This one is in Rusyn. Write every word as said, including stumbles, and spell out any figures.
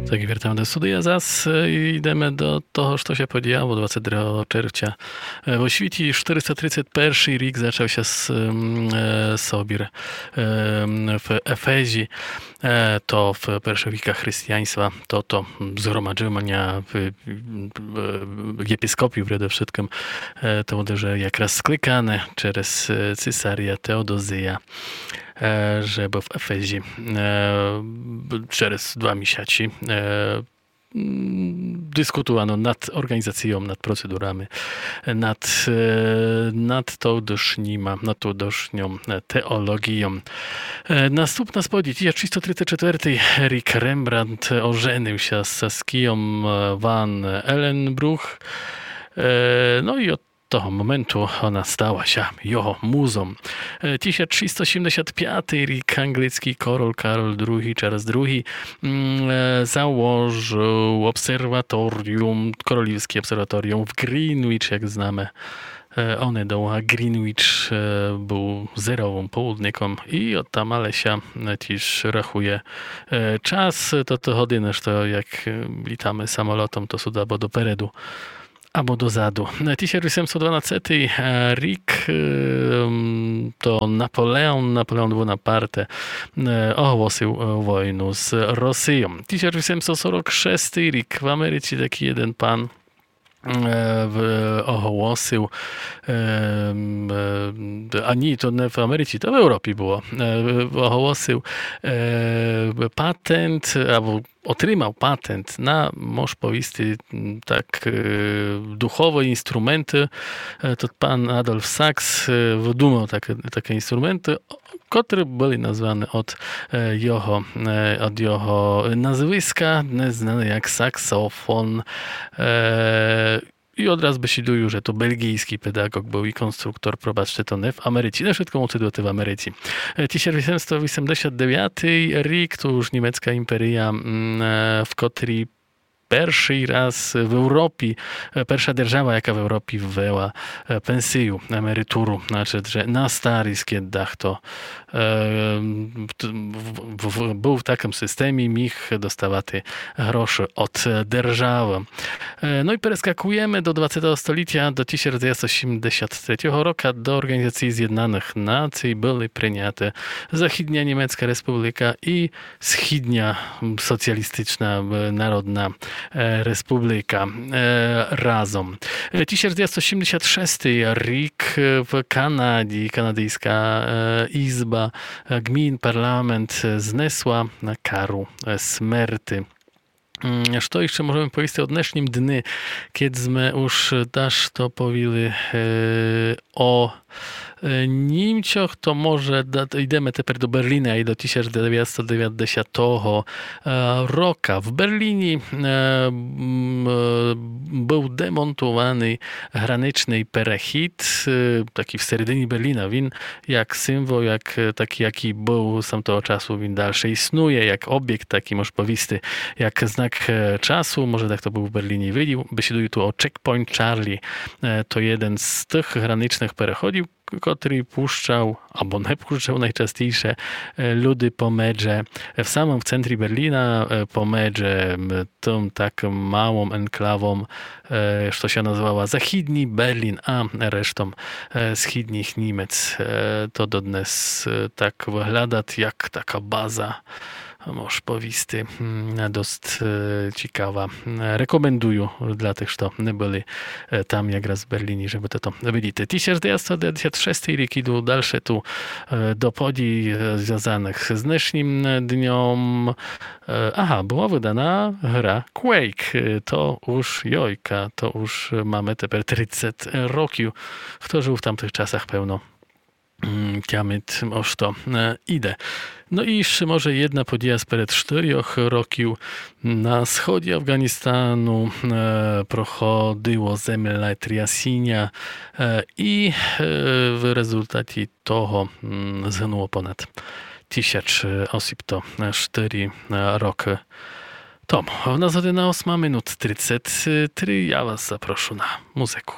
Так, вертаєме до студия зас, е, і йдеме до того, што ся подіяло двадцет другого червця. Е, во світі штыриста тридцет першый рік зачав ся с-, м, е, собір, е, м, в Ефезі. Е, то в першых віках христіянства, то, то згромаджыня в, в, в єпископів преде вшыткым, е, то буде вже якраз скликане через, е, цисаря Теодозія, е, жебы в Ефезі, е, б-, через два місяці, е, м, дискутувано над орґанізацийом, над процедурами, над, е, над тодышніма, над тодышньом, е, теолоґійом. Е, наступна сповідь, тисяч шістсто тридцет четвертый рік, Рембрандт оженив ся з Саскійом, е, ван Еленбруг. Е, но і од того моменту она стала ся його музом. Е, тисяч шістсто сімдесят пятый рік, анґлийскій король Кароль другій, Чарльз другій, м, е, заложыв обсерваторіум, королівскє обсерваторіум в Ґрінвіч, як знаме. Е, онедовга Ґрінвіч, е, быв зеровым полудником і одтам дале ся, е, тіж рахує, е, час, то, то годины, што як, е, літаме самолотом, то сут або допереду, або дозаду. Е, тисяч вісемсот дванадцятый, е, рік, е, м, то Наполеон, Наполеон Бонапарте, е, оголосив, е, войну з Росийом. Тисяч вісемсот сорок шестый рік, в Америці такій єден пан, е, в-, оголосив, е, м, е, а ні, то не в Америці, то в Европі было. Е, оголосив, е, патент, або отримав патент на, мож повісти, м, так, е, духовы інструменты. Е, тот пан Адольф Сакс, е, выдумав такы, такы інструменты, котры были названы од, е, його, е, од його назвиска, днес знаны як саксофон. Е, і одраз бесідую, же то бельґійскій педаґоґ быв і конструктор, пробачте, то не в Америці. Не вшытко мусит быти в Америці. Е, тисяч вісемсот вісемдесят девятый рік, то уж німецка імперия, м, е, в котрій першый раз в Европі, е, перша держава, яка в Европі ввела, е, пенсию, емеритуру, значыт, же на старіст, кед дахто, е, т-, в-, в-, в-, быв в такым системі, міг доставати гроші од, е, державы. Е, но і перескакуєме до двадцятого столітя, до тисяч девятсот сімдесят третього рока, до Орґанізациі Зєднаных Наций были приняты Західня Німецка Республика і Східня, м, Соціалістична, е, Народна, е, Республика, е, разом. Е, тисяч девятсот сімдесят шестый рік, е, в Канаді, канадийска, е, ізба, е, ґмін, парламент, е, знесла кару, е, смерти. М, што іщы можеме повісти о днешнім дни, кед зме уж дашто повіли, е, о, е, Німцях, то може да-, йдеме тепер до Берліна і до тисяч девятсот девятдесятого, е, рока. В Берліні, е, м, е, быв демонтованый граничный перехід, е, такій в середині Берліна. Він як символ, як, е, такій, якій быв сам того часу, він дальше існує, як обєкт, такій, мож повісти, як знак, е, часу, може дехто быв в Берліні і видів. Бесідую ту о Checkpoint Charlie. Е, то єден з тых граничных переходів, к-, котрый пущав, або не пущав найчастіше, е, люди помедже, е, в самым в центрі Берліна, е, помедже, м, тым такым малым енклавом, е, што ся называла Західній Берлін, а рештом, е, східніх Німец. Е, то доднес, е, так выглядат, як така база, мож повісти, м, дост, е, цікава. Е, рекомендую для тых, што не были, е, там якраз в Берліні, жебы то, то видіти. Тисяч девятсот девятдесят шестый рік, іду дальше ту, е, до подій, е, звязаных з днешнім, е, дньом. Е, ага, была выдана гра Quake. Е, то уж йойка, то уж маме тепер тридцет років. Хто жыв в тамтых часах, певно, м, тямит, о што, е, іде. Но і іщы може єдна подія сперед штырьох років. На сході Афґаністану, е, проходило землетрясіня, е, і, е, в резултаті того, м, згынуло понад тисяч, е, осіб. То, е, штыри, е, рокы тому. В нас година осма, минут тридцет три. Я вас запрошу на музыку.